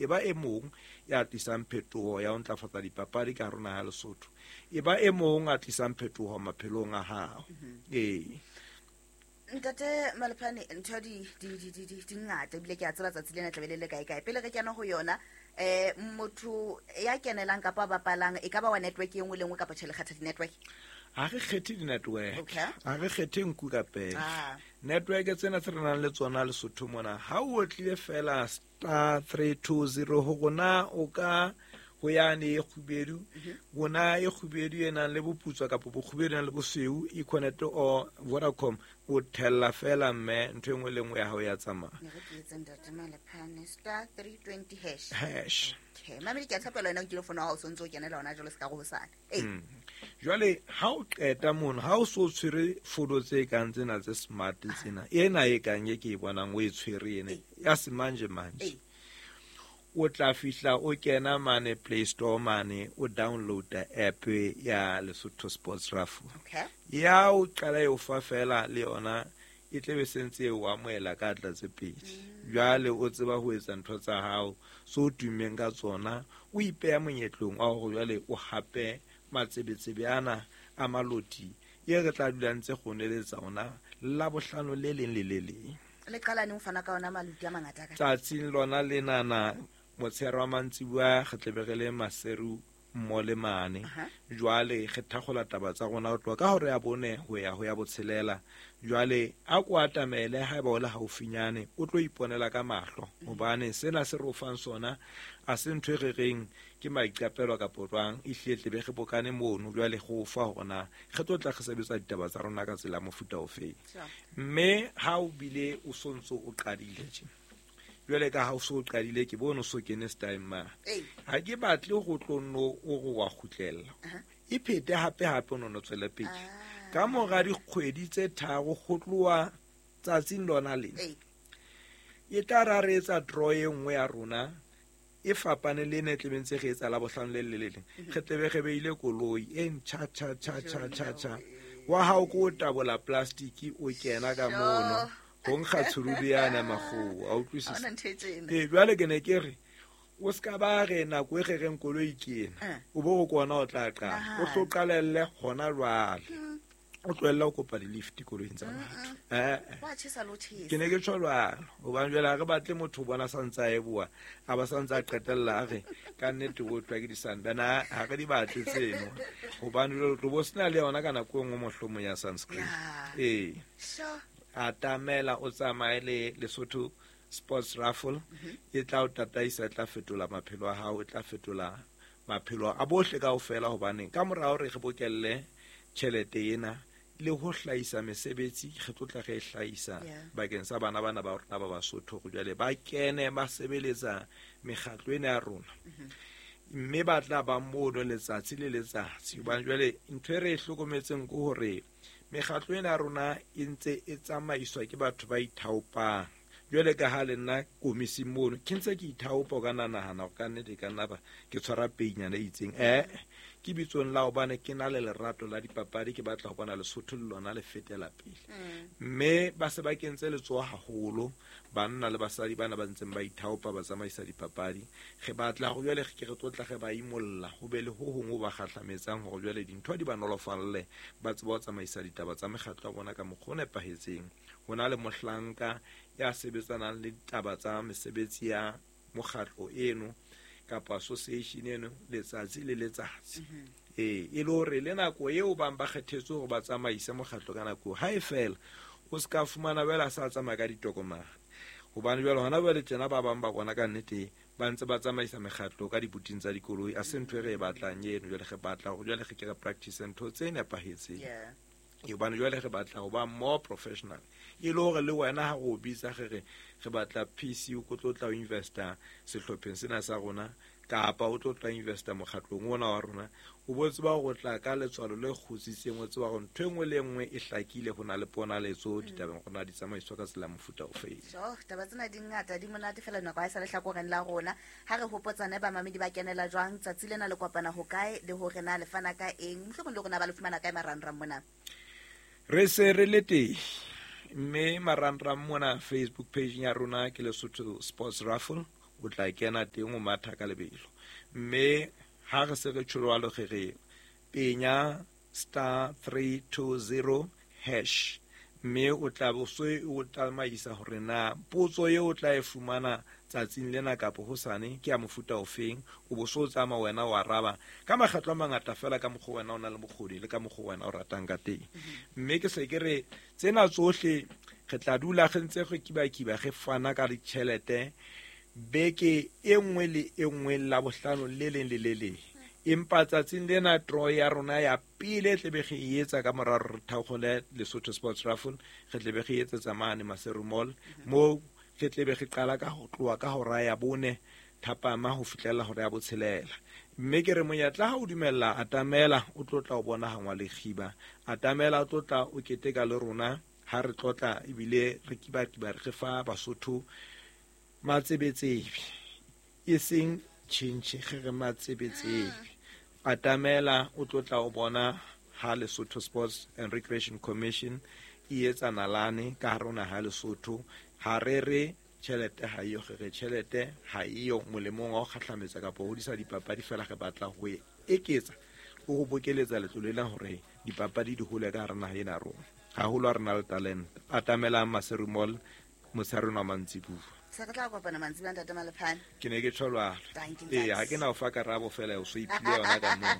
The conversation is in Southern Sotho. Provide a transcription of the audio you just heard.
E ba e mong ya tlisang phetoho ya ho ntlafatsa dipapadi ka hare ho naha ya Lesotho. E ba e mong a tlisang phetoho maphelong a hao. Ee. Ntate Malephane, ntho di di di di di di ngata ebile ke a tseba tsatsi lena tlabe le le kae kae. Pele re kena ho yona, motho ya kenelang kapa a bapalang e ka ba wa network e nngwe le nngwe kapa tjhe le kgetha di-network? Ha re kgethe di-network. Okay. Ha re kgethe nku ka pele. Ah. Network tsena tse re nang le tsona Lesotho mona, ha o otlile fela star 320 ho rona o ka ho yane e kgubedu, rona e kgubedu e nang le boputswa kapa bokgubedu e nang le bosweu, Econet or Vodacom, o thella fela mme ntho e nngwe le nngwe ya hao ya tsamaya. Ne re ke etse ntate Malephane, star 320 hash. Hash. Okay. Mamedi, ke a tshepela wena o nkile fono ya hao, o sontse o kenela hona jwale se ka re hosane. Ee. Jwale ha o qeta mono, ha o so tshwere fono tse kang tsena tse smart tsena, ena e kang e ke e bonang o e tshwere ena, ya semanje manje. Ee. O tla fihla o kena mane Play Store mane, o downloada app ya Lesotho Sports Raffle. Okay. Ya o qala e o fa fela le yona, e tlebe sentse e o amohela ka tla tse pedi. Jwale o tseba ho etsa ntho tsa hao so tummeng ka tsona, o ipeha monyetlong wa hore jwale o hape matsebetsebe ana a maloti e re tla dula ntse go neletsa ona la bohlano le leng le le leng. Le qala neng ho fana ka ona maloti a mangata ka? Tsatsing lona lenana motshehare wa mantsibuya re tlebe re le Maseru mmo le mane. Aha. Jwale re thakgola taba tsa rona ho tloha ka hora ya bone ho ya ho ya botshelela. Jwale a ko atamele haeba o le haufinyane, o tlo iponela ka mahlo, hobane sena se re o fang sona a se ntho e re reng ke maiqapelo kapa jwang, e hlile tlebe re bokane mono jwale go fa hore na re tlo tla re sebetsa ditaba tsa rona ka tsela ya mofuta ofe. Sure. Mme ha o bile o sontso o qadile tje, jwale ka ha o so qadile ke bone o so kene style ma. Ee. Ha ke batle go tlo nno o re wa kgutlella. Aha. E phete hape hape o no no tswele pele. Ah. Ka mora dikgwedi tse tharo go tloha tsatsing lona lena. Ee. E tla ra re etsa draw e nngwe ya rona e fapane le ena e tlebeng tse re etsa la bohlano le le le leng. Re tlebe re beile koloi e ntjha tjha tjha tjha tjha tjha. Wa hao ko o tabola plastic o kena ka mono. Ho nkga tshurudu yana makgowa, a utlwisisa? Ha hona ntho e tjena. Ee, jwale ke ne ke re, o ska ba re nako e re reng koloi ke ena, Eh. o bo o kona o tla qala. O hlo qalelle hona jwale. O tlohelle ho kopa di-lift koloing tsa batho. Eh, eh. Wa tjhesa le ho tjhesa. Ke ne ke tjho jwalo, hobane jwale ha re batle motho o bona sa ntse a eboha, a ba sa ntse a qetella a re ka nnete o tlwa ke di-sunburn. Ha, ha re di batle tseno, hobane jwale o tlo bo sena le yona ka nako e nngwe mohlomong ya sunscreen. Yeah. Ee. Sure. Atamela o tsamaye le Lesotho Sports Raffle, e tla o tataisa, e tla fetola maphelo a hao, e tla fetola maphelo a bohle kaofela, hobane ka mora hore re bokelle tjhelete ena le ho hlahisa mesebetsi, re tlo tla re e hlahisa Yeah. bakeng sa bana bana ba rona ba Basotho, hore jwale ba kene ba sebeletsa mekgatlo ena ya rona. Mme ba tla ba mono letsatsi le letsatsi, hobane jwale ntho e re e hlokometseng ke hore mekgatlo ena ya rona e ntse e tsamaiswa ke batho ba ithaopang. Jwale ka ha le nna komising mono ke ntse ke ithaopa, o ka nna nahana hore ka nnete ka nna ba ke tshwara peinyana e itseng. Ke bitsong la hobane ke na le lerato la dipapadi, ke batla ho bona Lesotho le lona le fetela pele. Mme ba se ba kentse letsoho haholo, banna le basadi bana ba ntseng ba ithaopa ba tsamaisa dipapadi. Re batla hore jwale re ke re tlotla re ba imolla, ho be le ho hong ho ba kgahlametsang hore jwale dintho di ba nolofalle, ba tsebe ho tsamaisa ditaba tsa mekgatlo ya bona ka mokgwa o nepahetseng. Ho na le mohlanka ya sebetsanang le ditaba tsa mesebetsi ya mokgatlo eno kapa association eno letsatsi le letsatsi. Ee, e le hore le nako eo bang ba kgethetswe hore ba tsamaise mokgatlo ka nako eo, ha e fela o se ka fumana jwale a sa tsamaya ka ditokomane, hobane jwale hona jwale tjena ba bang ba bona ka nnete ba ntse ba tsamaisa mekgatlo ka dibuting tsa dikoloi. A se ntho e re e batlang eno. Jwale re batla hore jwale re ke re practice ntho tse nepahetseng. Yeah. Ee, hobane jwale re batla ho ba more professional, e le hore le wena ha re o bitsa re re re batla PC o tlo tla o investa sehlopheng sena sa rona, kapa o tlo tla investa mokgatlong ona wa rona, o bo tseba hore o tla ka letswalo le kgutsitseng, o tseba hore ntho e nngwe le e nngwe e hlakile, ho na le ponaletso ditabeng, ho na di tsamaiswa ka tsela ya mofuta ofe. Jo, taba tsena di ngata, di monate fela, nako ha e sa le hlakoreng la rona. Ha re hopotsane bamamedi ba kenela jwang, tsatsi lena le kopana ho kae, le hore na le fana ka eng, mohlomong le hore na ba le fumana kae marangrang mona. Re se re le teng, mme marangrang mona Facebook page ya rona ke Lesotho Sports Raffle. O tla kena teng o matha ka lebelo. Mme ha re se re tjho jwalo re re penya *320#, mme o tla bo se o tsamaisa hore na potso eo o tla e fumana tsatsing lena kapa hosane ke ya mofuta ofeng. O bo so tsamaya wena o araba ka makgetlo a mangata fela ka mokgwa wena o na le bokgoni le ka mokgwa wena o ratang ka teng. Mme ke se ke re tsena tsohle re tla dula re ntse re kibakiba re fana ka ditjhelete beke e nngwe le e nngwe, Labohlano le leng le le leng. Empa tsatsing lena draw ya rona ya pele e tlebe re e etsa ka mora hore re thaokgole Lesotho Sports Raffle, re tlebe re etsetsa mane Maseru Mall, moo re tlebe re qala ka ho tloha ka hora ya 4 thapama ho fihlela hora ya 6. Mme ke re monyetla ha o dumella, atamela o tlo tla o bona hangwa le kgiba, atamela o tlo tla o keteka le rona ha re tlotla ebile re kibakiba re fa Basotho matsebetsebe, e seng tjhentjhe, re re matsebetsebe. Atamela o tlo tla o bona ha Lesotho Sports and Recreation Commission e etsa nalane ka hare ho naha ya Lesotho. Ha re re tjhelete ha eyo, re re tjhelete ha eyo molemong wa ho kgahlametsa kapa ho hodisa dipapadi, fela re batla ho e eketsa le ho bokeletsa letlole lena hore dipapadi di hole ka hare naha ena ya rona, haholo ha re na le talente. Atamelang Maseru Mall motshehare ona wa mantsibuya. Se re tla kopana mantsibuya, ntate Malephane. Ke ne ke tjho jwalo. Thank you, Ee, ha ntate. ke na o fa karabo fela, o so iphile yona ka moo.